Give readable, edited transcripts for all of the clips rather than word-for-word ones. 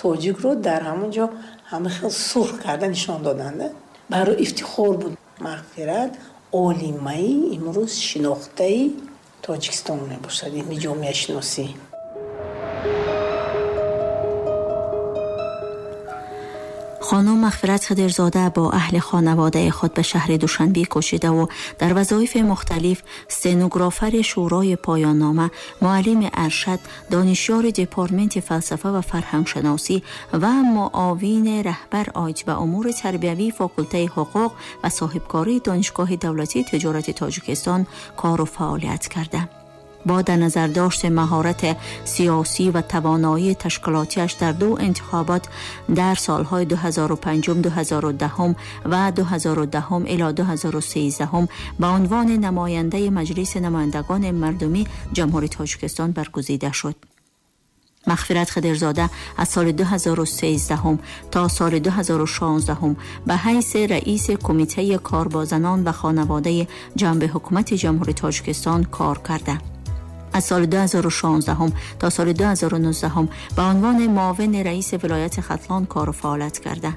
Тоҷикро дар ҳамон ҷо ҳама хел сурх карда нишон доданд. Барои ифтихор буд. Мағфират олимаи имрӯз шинохтаи Тоҷикистон мебошад, илми ҷомеашиносӣ. خانم مغفرت خضرزاده با اهل خانواده خود به شهر دوشنبه کشیده و در وظایف مختلف استنوگرافر شورای پایان نامه، معلم ارشد، دانشیار دپارتمنت فلسفه و فرهنگشناسی و معاون رهبر آید به امور تربیوی فاکولته حقوق و صاحبکاری دانشگاه دولتی تجارت تاجیکستان کار و فعالیت کرده. با در نظر داشت مهارت سیاسی و توانایی تشکیلاتیش در دو انتخابات در سالهای 2005، 2010 و 2010 الی 2013 به عنوان نماینده مجلس نمایندگان مردمی جمهوری تاجیکستان برگزیده شد. مغفرت خضرزاده از سال 2013 تا سال 2016 به حیث رئیس کمیته کار با زنان و خانواده جنب حکومت جمهوری تاجیکستان کار کرده. از سال 2016 تا سال 2019 به عنوان معاون رئیس ولایت ختلان کار و فعالیت کرده.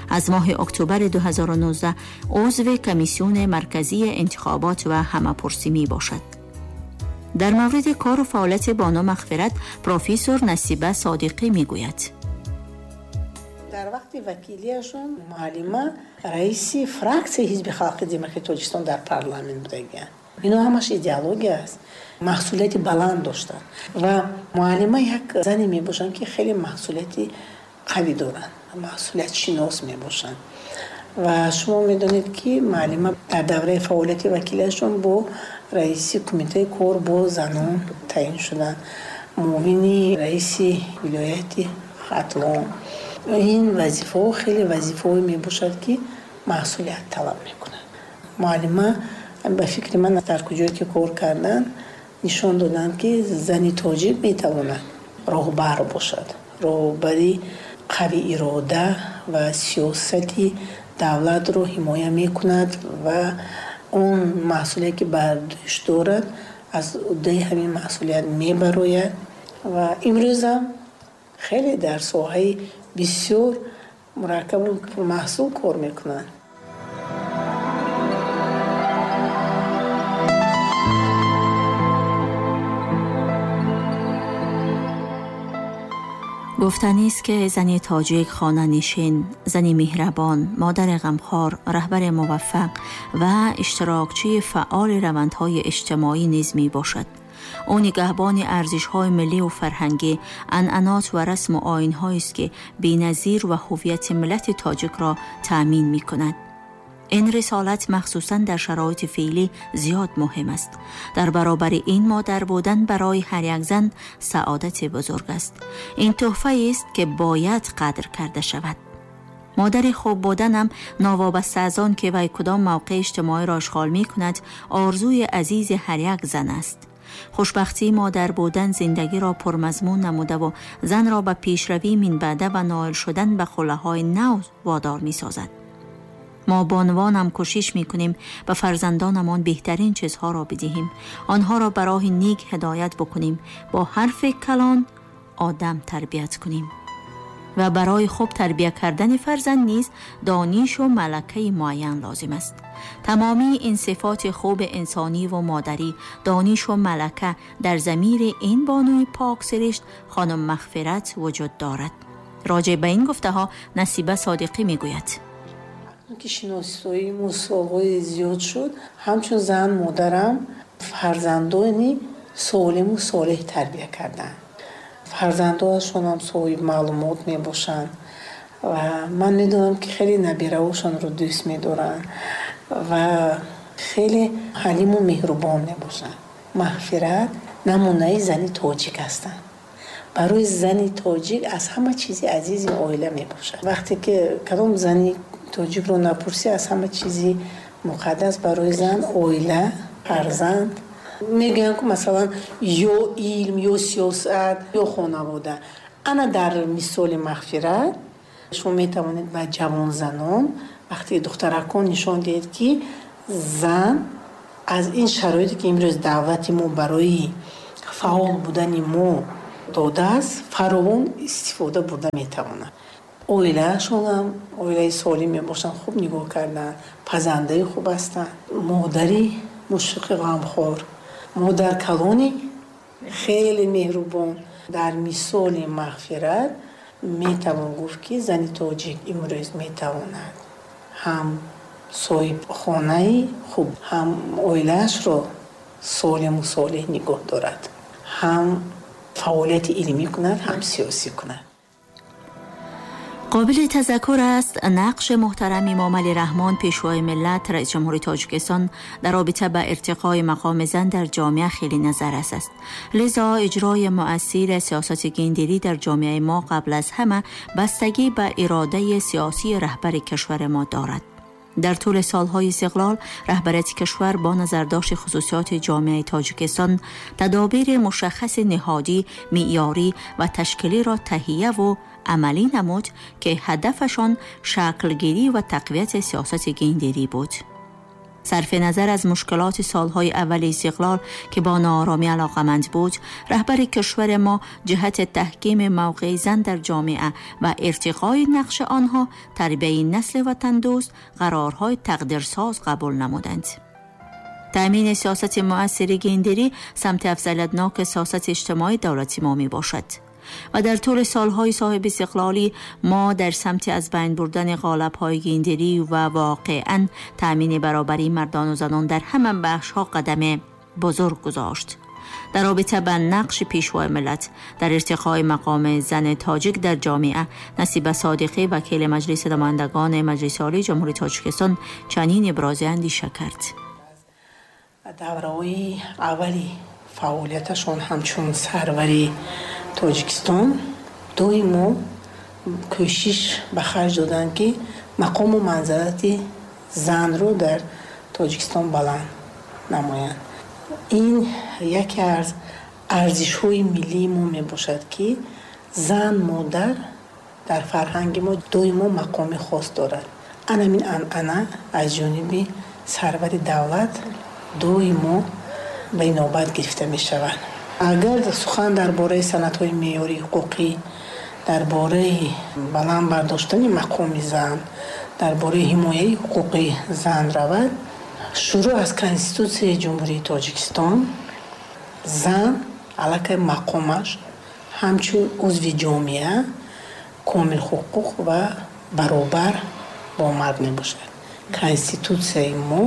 از ماه اکتبر 2019 عضو کمیسیون مرکزی انتخابات و همه‌پرسی می باشد. در مورد کار و فعالیت بانو مغفرت پروفسور نصیبه صادقی می گوید: در وقت وکیلیشون معلمه رئیس فراکسیای حزب خلق دموکراتیک تاجیکستان در پارلمان بودند. اینا همش ایدئولوژی است. مسئولیت بلند داشتند و معلمه یک زنی می باشند که خیلی مسئولیت قوی دارند، مسئولیت شناس می باشند. و شما میدونید که معلمه در دوره فعالیت وکیلشون با رئیس کمیته کار با زنان تعیین شدند، معاون رئیس ولایت ختلان. این وظیفه خیلی وظیفه می باشد که مسئولیت طلب میکنه. معلمه به فکر من در کجایی که کار کردن نشان دادند که زن تاجیک میتواند راهبر باشد، راهبری قوی اراده و سیاست دولت رو حمایه میکند و اون مسئولیت که بر دوش دارد از عهده همین مسئولیت میبراید و امروز هم خیلی در ساحه بسیار مرکب و پرمحصول کار میکنند. گفتنی است که زن تاجیک خانه‌نشین، زن مهربان، مادر غمخوار، رهبر موفق و اشتراکچی فعال روندهای اجتماعی نیز می باشد. او نگهبان ارزش‌های ملی و فرهنگی، عنعنات و رسم و آیین‌هایی است که بی‌نظیر و هویت ملت تاجیک را تأمین می‌کند. این رسالت مخصوصاً در شرایط فعلی زیاد مهم است. در برابر این مادر بودن برای هر یک زن سعادت بزرگ است. این تحفه است که باید قدر کرده شود. مادر خوب بودنم ناوابسته از آن که وی کدام موقع اجتماعی را اشغال می کند، آرزوی عزیز هر یک زن است. خوشبختی مادر بودن زندگی را پرمضمون نموده و زن را به پیشروی منبعده و نائل شدن به قله‌های نو وادار می سازد. ما بانوانم کوشش میکنیم به فرزندانمان بهترین چیزها را بدهیم، آنها را به راه نیک هدایت بکنیم، با حرف کلان آدم تربیت کنیم و برای خوب تربیت کردن فرزند نیز دانش و ملکه معین لازم است. تمامی این صفات خوب انسانی و مادری، دانش و ملکه در ضمیر این بانوی پاک سرشت خانم مغفرت وجود دارد. راجع به این گفته ها نصیبه صادقی میگوید: که شناسایی سالهای زیاد شد، همچون زن مادرم فرزندانی سالم و صالح تربیه کردن. فرزندانشون هم صاحب معلومات می باشن و من میدونم که خیلی نبیره‌هاشون رو دوست میدارن و خیلی حلیم و مهربان می باشن. مغفرت نمونه زن تاجیک هستن. برای زن تاجیک از همه چیزی عزیز عائله می باشد. وقتی که کدام زنی تاجیک رو نپرسی، از همه چیزی مقدس برای زن عائله، فرزند. میگن که مثلا یا علم یا سیاست یا خانواده. انا در مثال مغفرت شما میتوانید به جوان زنان وقتی دخترکان نشان دهید که زن از این شرایطی که امروز دعوت ما برای فعال بودن ما додааст, фаровон истифода бурда метавонад. Оилаашонам оилаи солим мебошанд, хуб нигоҳ карданд, пазандаи хуб ҳастанд, модари мушфиқи ғамхор, модаркалони хеле меҳрубон. Дар мисоли Мағфират метавон гуфт, ки зани тоҷик имрӯз метавонад ҳам соҳибхонаи хуб, ҳам оилаашро солиму солеҳ нигоҳ дорад, ҳам фаъолияти илмӣ кунад, ҳам сиёсӣ кунад. Қобили тазаккур аст, нақши муҳтарам Эмомалӣ Раҳмон, Пешвои миллат, Раиси Ҷумҳури Тоҷикистон, дар робита ба иртиқои мақоми зан дар ҷомеа хеле назаррас аст. Лизо иҷрои муассири сиёсати гендерӣ дар ҷомеаи мо қабл аз ҳама бастагӣ ба иродаи сиёсии раҳбари кишвари мо дорад. Дар тӯли солҳои истиқлол раҳбарияти кишвар бо назардошти хусусиёти ҷомеаи Тоҷикистон тадобири мушаххаси ниҳодӣ, меъёрӣ ва ташкилиро таҳияву амалӣ намуд, ки ҳадафашон шаклгирӣ ва тақвияти сиёсати гендерӣ буд. Сарфи назар аз мушкилоти солҳои аввали истиқлол, ки бо нооромӣ алоқаманд буд, раҳбари кишвари мо ҷиҳати таҳкими мавқеи зан дар ҷомеа ва иртиқои нақши онҳо, тарбияи насли ватандӯст қарорҳои тақдирсоз қабул намуданд. Таъмини сиёсати муассири гендерӣ самти афзалиятноки сиёсати иҷтимоии давлати мо мебошад ва дар тӯли солҳои соҳиби истиқлолӣ мо дар самти аз байн бурдани қолабҳои гендерӣ ва воқеан таъмини баробарии мардону занон дар ҳама бахшҳо қадами бузург гузошт. Дар робита ба нақши Пешвои миллат дар иртиқои мақоми зани тоҷик дар ҷомеа, Насиба Содиқӣ, вакили Маҷлиси намояндагони Маҷлиси Олии Ҷумҳурии Тоҷикистон, чунин ибрози андеша кард. Давраҳои аввали фаъолияташон ҳамчун сарвари Тоҷикистон доимо кӯшиш ба харҷ доданд, ки мақому манзалати занро дар Тоҷикистон баланд намоянд. Ин яке аз арзишҳои миллии мо мебошад, ки зан, модар дар фарҳанги мо доимо мақоми хос дорад. Анамин анъана аз ҷониби сарвари давлат доимо ба инобат гирифта мешавад. Агар сухан дар бораи санадҳои меъёрии ҳуқуқӣ, дар бораи баланд бардоштани мақоми зан, дар бораи ҳимояи ҳуқуқи зан равад, шурӯъ аз Конститутсияи Ҷумҳурии Тоҷикистон зан аллакай мақомаш ҳамчун узви ҷомеа комилҳуқуқ ва баробар бо мард мебошад. Конститутсияи мо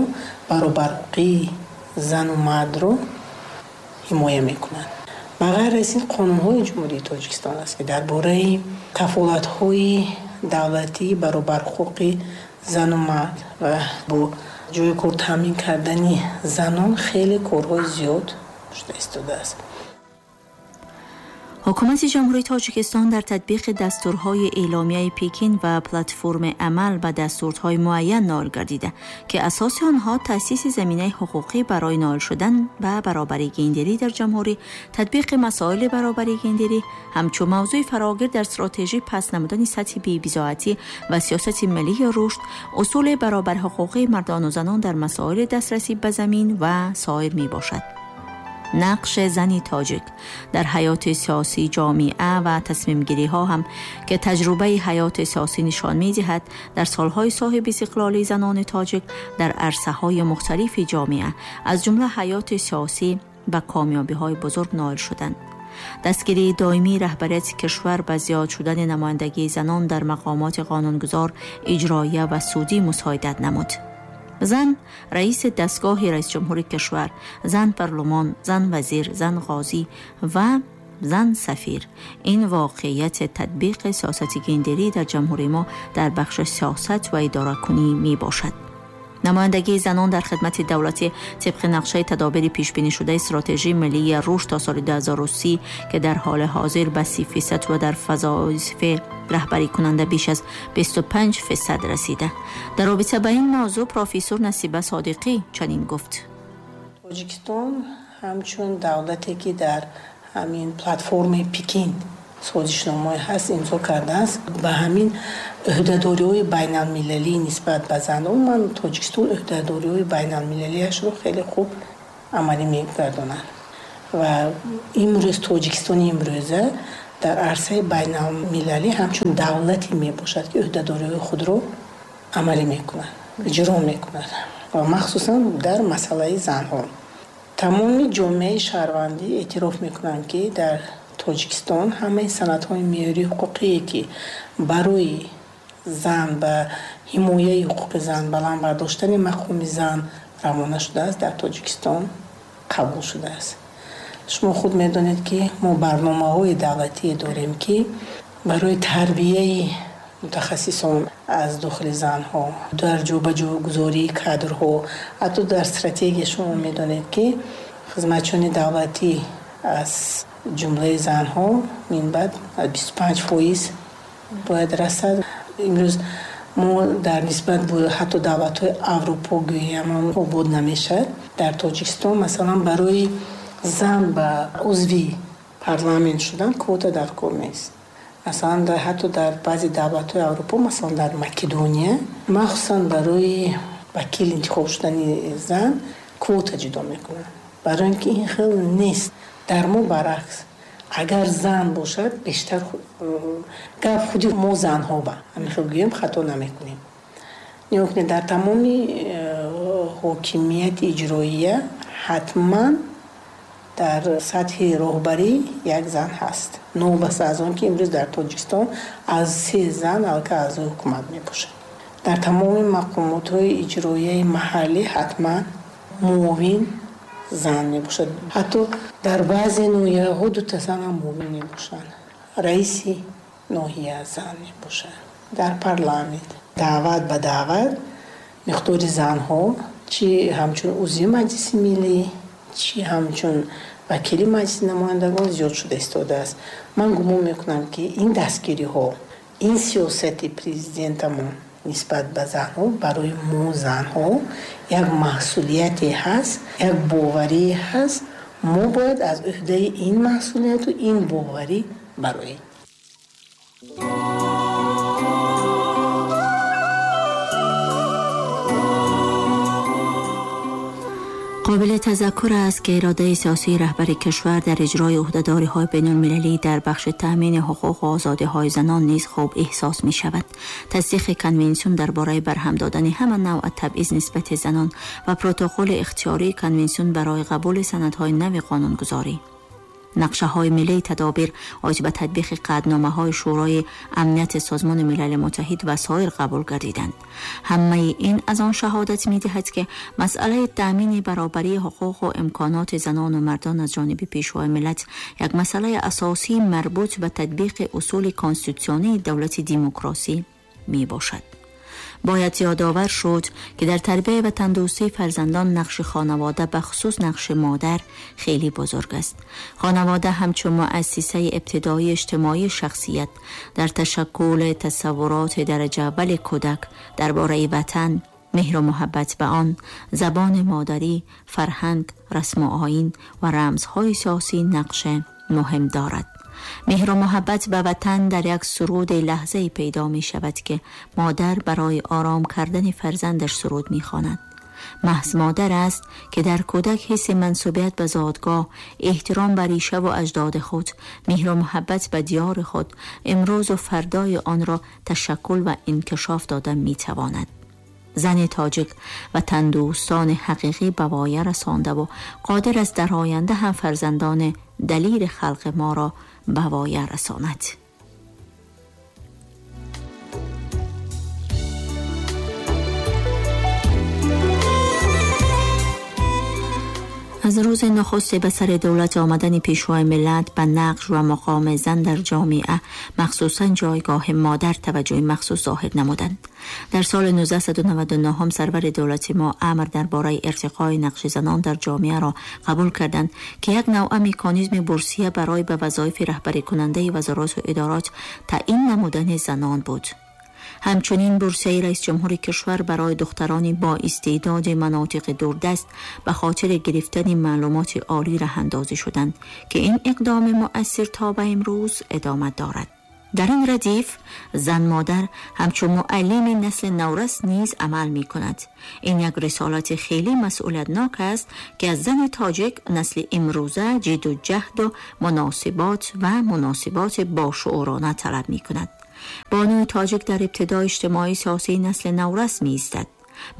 баробарҳуқуқии зану мардро ҳимоя мекунад. Ба ғайр аз ин, қонунҳои Ҷумҳурии Тоҷикистон аст, ки дар бораи кафолатҳои давлатии баробарҳуқуқи зану мард ва бо ҷойи кор таъмин кардани занон хеле корҳои зиёд шуда истодааст. Ҳукумати Ҷумҳурии Тоҷикистон дар татбиқи дастурҳои эъломияи Пекин ва платформи амал ба дастурҳои муайян ноил гардида, ки асоси онҳо таъсиси заминаи ҳуқуқӣ барои ноил шудан ба баробарии гендерӣ дар ҷумҳурӣ, татбиқи масоили баробарии гендерӣ ҳамчун мавзӯи фарогир дар стратегӣ паст намудани сатҳи бебизоатӣ ва сиёсати миллии рушд, усули баробарҳуқуқии мардону занон дар масоили дастрасӣ ба замин ва соир мебошад. Нақши зани тоҷик дар ҳаёти сиёсии ҷомеа ва тасмимгириҳо ҳам, ки таҷрубаи ҳаёти сиёсӣ нишон медиҳад, дар солҳои соҳиби истиқлолии занони тоҷик дар арсаҳои мухталифи ҷомеа, аз ҷумла ҳаёти сиёсӣ, ба комёбиҳои бузург ноил шуданд. Дастгирии доимии раҳбарияти кишвар ба зиёд шудани намояндагии занон дар мақомоти қонунгузор, иҷроия ва судӣ мусоидат намуд. Зан раиси дастгоҳи раисҷумҳури кишвар, зан парлумон, зан вазир, зан қозӣ ва зан сафир. Ин воқеияти татбиқи сиёсати гендерӣ дар ҷумҳурии мо дар бахши сиёсат ва идоракунӣ мебошад. Намояндагии занон дар хидмати давлатӣ тибқи нақшаи тадобири пешбинишудаи стратегии миллии рушд то соли 2030, ки дар ҳоли ҳозир ба 30% ва дар вазоифи раҳбарикунанда беш аз 25% расида. Дар робита ба ин мавзӯъ профессор Насиба Содиқӣ чунин гуфт. Тоҷикистон ҳамчун давлате, ки дар ҳамин платформаи Пекин созишномаҳое ҳаст, имзо кардааст, ба ҳамин ӯҳдадориҳои байналмилалӣ нисбат ба занон, ман Тоҷикистон ӯҳдадориҳои байналмилалиашро хеле хуб амалӣ мегардонад. Ва имрӯз Тоҷикистони имрӯза дар арсаи байналмилалӣ ҳамчун давлате мебошад, ки ӯҳдадориҳои худро амалӣ мекунад, иҷро мекунад ва махсусан дар масъалаи занҳо. Тамоми ҷомеаи шаҳрвандӣ эътироф мекунанд, ки дар Тоҷикистон ҳамаи санадҳои меъёрии ҳуқуқие, ки барои зан ба ҳимояи ҳуқуқи зан, баланд бардоштани мақоми зан равона шудааст, дар Тоҷикистон қабул шудааст. Шумо худ медонед, ки мо барномаҳои давлатие дорем, ки барои тарбияи мутахассисон аз дохили занҳо, дар ҷобаҷогузории кадрҳо, ҳатто дар стратегия шумо медонед, ки хизматчиёни давлатӣ аз ҷумлаи занҳо минбаъд 25% бояд расад. Имрӯз мо дар нисбат бо ҳатто давлатҳои Аврупо гӯям обод намешавад. Дар Тоҷикистон масалан барои зан ба узви парламент шудан квота дар кор нест. Масалан ҳатто дар баъзе давлатҳои Аврупо, масалан дар Македония, махсусан барои вакил интихоб шудани зан квота ҷудо мекунанд. Барои ин ки ин хел нест. Дар мо баръакс, агар зан бошад, бештар гап худи мо занҳо ба ҳамин хел гӯем, хато намекунем. Нигоҳ кунед, дар тамоми ҳокимияти иҷроия ҳатман дар сатҳи роҳбарӣ як зан ҳаст. Новобаста аз он ки имрӯз дар Тоҷикистон аз 3 зан алка аъзои ҳукумат мебошад. Дар тамоми мақомотҳои иҷроияи маҳаллӣ ҳатман муовин зан мебошад. Ҳатто дар баъзе ноҳияҳо дута зан ҳам муовин мебошанд. Раиси ноҳия зан мебошад. Дар парламент даъват ба даъват миқдори занҳо чи ҳамчун узви Маҷлиси Миллӣ, чи ҳамчун вакили Маҷлиси намояндагон зиёд шуда истодааст. Ман гумон мекунам, ки ин дастгириҳо, ин сиёсати президентамон нисбат ба занҳо барои мо занҳо як масъулияте ҳаст, як боварие ҳаст. Мо бояд аз ӯҳдаи ин масъулияту ин боварӣ бароем. قابل تذکر است که اراده سیاسی رهبر کشور در اجرای عهده‌داری‌های بین‌المللی در بخش تأمین حقوق و آزادی‌های زنان نیز خوب احساس می‌شود. تصدیق کنوانسیون درباره برهم دادن همه نوع تبعیض نسبت زنان و پروتکل اختیاری کنوانسیون برای قبول سندهای نو قانونگذاری، نقشه‌های ملی تدابیر آید به تطبیق قطعنامه‌های شورای امنیت سازمان ملل متحد و سایر قبول گردیدند. همه این از آن شهادت می‌دهد که مسئله تأمین برابری حقوق و امکانات زنان و مردان از جانب پیشوای ملت یک مسئله اساسی مربوط به تطبیق اصول کنستیتوسیونی دولت دموکراسی می‌باشد. باید یادآور شد که در تربیه و تندرستی فرزندان نقش خانواده به خصوص نقش مادر خیلی بزرگ است. خانواده همچون مؤسسه ابتدایی اجتماعی شخصیت در تشکل تصورات درجه اول کودک درباره وطن، مهر و محبت به آن، زبان مادری، فرهنگ، رسم و آیین و رمزهای سیاسی نقش مهم دارد. مهر و محبت به وطن در یک سرود لحظه‌ای پیدا می شود که مادر برای آرام کردن فرزندش سرود می خواند. محض مادر است که در کودک حس منسوبیت به زادگاه، احترام بر ریشه و اجداد خود، مهر و محبت به دیار خود، امروز و فردای آن را تشکل و انکشاف داده می تواند. زن تاجیک و تندوستان حقیقی به وایه رسانده و قادر است در آینده هم فرزندان دلیر خلق ما را به وایه رساند. از روز نخست به سر دولت آمدن پیشوای ملت به نقش و مقام زن در جامعه، مخصوصا جایگاه مادر، توجه مخصوص ظاهر نمودند. در سال 1999 هم سرور دولت ما امر درباره ارتقای نقش زنان در جامعه را قبول کردند که یک نوع مکانیزم بورسیه برای به وظایف رهبری کننده وزارات و ادارات تعیین نمودن زنان بود. همچنین بورسیه رئیس جمهور کشور برای دختران با استعداد مناطق دوردست به خاطر گرفتن معلومات عالی راه اندازی شدند که این اقدام مؤثر تا به امروز ادامه دارد. Дар ин радиф зан модар ҳамчун муаллими насли наврас низ амал мекунад. Ин як рисолати хеле масъулиятнок аст, ки аз зани тоҷик насли имрӯза ҷидду ҷаҳду муносибот ва муносиботи бошуурона талаб мекунад. Бонуи тоҷик дар ибтидои иҷтимоии сиёсии насли наврас меистад.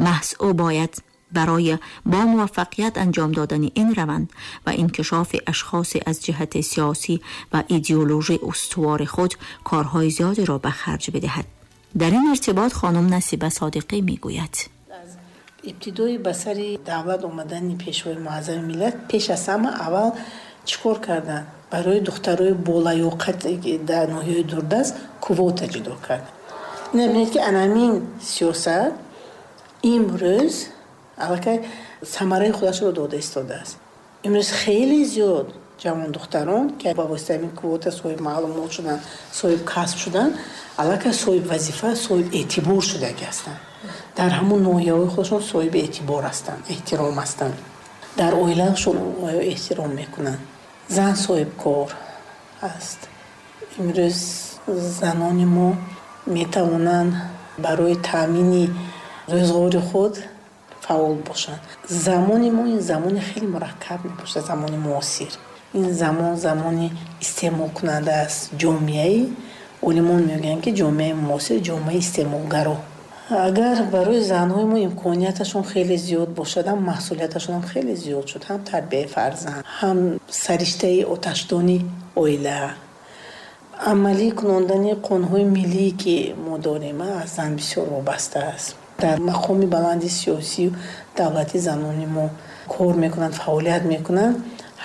Маҳз ӯ бояд барои бо муваффақият анҷом додани ин раванд ва инкишофи ашхоси аз ҷиҳати сиёсӣ ва идеологӣ устувори худ корҳои зиёдеро ба харҷ бидиҳад. Дар ин иртибот хонум Насиба Содиқӣ мегӯяд: аз ибтидои ба сари давлат омадани Пешвои Муаззами миллат пеш аз ҳама аввал чӣ кор карданд? Барои духтарои болаёқат дар ноҳияи дурдаст квота ҷудо кард. Ина бинед, ки анамин сиёсат имрӯз аллакай самараи худашро дода истодааст. Имрӯз хеле зиёд ҷавондухтарон, ки ба воситаи ин квота соҳиби маълумот шуданд, соҳиби касб шуданд, аллакай соҳиби вазифа, соҳиби эътибор шудаги ҳастанд. Дар ҳамон ноҳияҳои худашон соҳиби эътибор ҳастанд, эҳтиром ҳастанд. Дар оилаашон эҳтиром мекунанд. Зан соҳибкор аст. Имрӯз занони мо метавонанд барои таъмини рӯзғори худ фаъол бошанд. Замони мо ин замони хеле мураккаб мебошад, замони муосир. Ин замон замони истеъмолкунанда аст. Ҷомеаи олимон мегӯянд, ки ҷомеаи муосир ҷомеаи истеъмолгаро. Агар барои занҳои мо имконияташон хеле зиёд бошад, ҳам маҳсулияташон ҳам хеле зиёд шуд, ҳам тарбияи фарзанд, ҳам сариштаи оташдони оила, амалӣ кунондани қонунҳои миллие, ки мо дорем, аз зан бисёр вобаста аст. Дар мақоми баланди сиёсию давлати занони мо кор мекунанд, фаъолият мекунанд.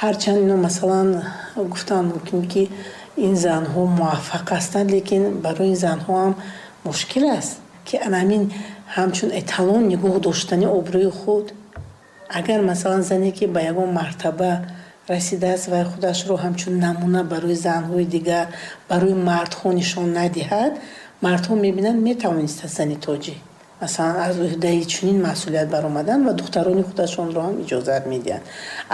Ҳарчанд ино масалан гуфтан мумкин, ки ин занҳо муваффақ ҳастанд, лекин барои ин занҳо ҳам мушкил аст, ки анамин ҳамчун эталон нигоҳ доштани обрӯи худ. Агар масалан зане, ки ба ягон мартаба расидааст ва худашро ҳамчун намуна барои занҳои дигар, барои мардҳо нишон надиҳад, мардҳо мебинанд, метавонистанд зани тоҷик масалан аз уҳдаи чунин масъулият баромадан ва духтарони худашонро ҳам иҷозат медиҳанд.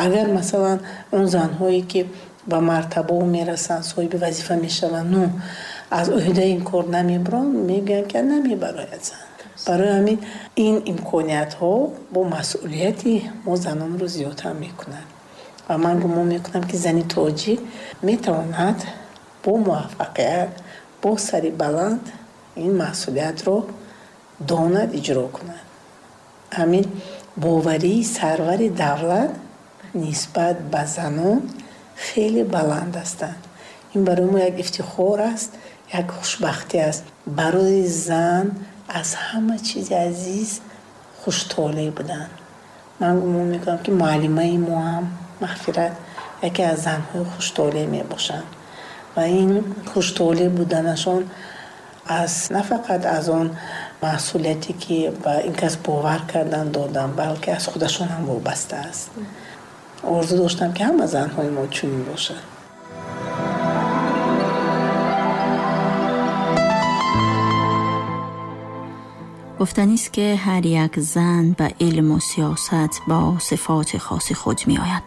Агар масалан он занҳое, ки ба мартабао мерасанд, соҳиби вазифа мешаванд, ну аз уҳдаи ин кор намебаранд, мегӯянд, ки намебарояд зан. Барои ҳамин ин имкониятҳо бо масъулияти мо занонро зиёдтар мекунад. Ва ман гумон мекунам, ки зани тоҷик метавонад бо муваффақият, бо сари баланд ин масъулиятро донад, иҷро кунад. Ҳамин боварии сарвари давлат нисбат ба занон хеле баланд ҳастанд. Ин барои мо як ифтихор аст, як хушбахтӣ аст. Барои зан аз ҳама чизи азиз хуштолеъ будан. Ман гумон мекунам, ки муаллимаи мо ҳам Мағфират яке аз занҳои хуштолеъ мебошанд ва ин хуштолеъ буданашон аз на фақат аз он масъулияте, ки ба ин кас бовар кардан додан, балки аз худашон ҳам вобаста аст. Орзу доштам, ки ҳама занҳои мо чунин бошанд. Гуфтанист, ки ҳар як зан ба илму сиёсат бо сифоти хоси худ меояд.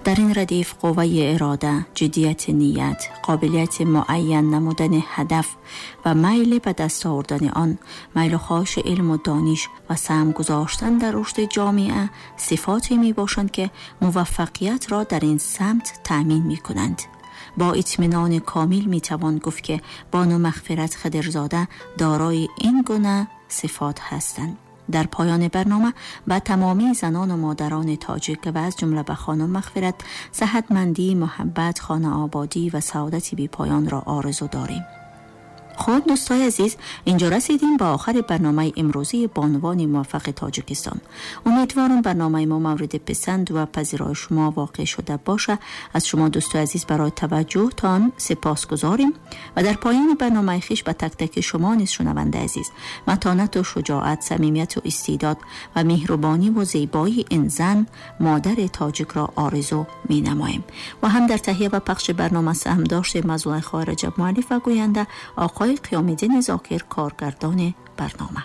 Дар ин радиф қувваи ирода, ҷиддияти ният, қобилияти муайян намудани ҳадаф ва майли ба даст овардани он, майлу хоҳиши илму дониш ва саҳм гузоштан дар рушди ҷомеа сифоте мебошанд, ки муваффақиятро дар ин самт таъмин мекунанд. Бо итминони комил метавон гуфт, ки бону Мағфират Хидирзода дорои ин гуна сифот ҳастанд. Дар поёни барнома ба тамоми занону модарони тоҷик ва аз ҷумла ба хонум Мағфират саҳатмандӣ, муҳаббат, хонаободӣ ва саодати бепоёнро орзу дорем. Хуб, дӯстои азиз, инҷо расидем ба охари барномаи имрӯзии бонувони муваффақи Тоҷикистон. Умедворам, барномаи мо мавриди писанд ва пазирои шумо воқеъ шуда боша. Аз шумо, дӯстои азиз, барои таваҷҷӯҳтон сипосгузорем ва дар поёни барномаи хиш ба тактаки шумо низ, шунавандаи азиз, матонату шуҷоат, самимияту истеъдод ва меҳрубониву зебоии ин зан модари тоҷикро орзу менамоем. Ва ҳам дар таҳия ва пахши барнома саҳм доштем Мазлулайхо Раҷаб, муаллиф ва гӯянда, оқои Қиёмиддин Зокир, коргардони барнома.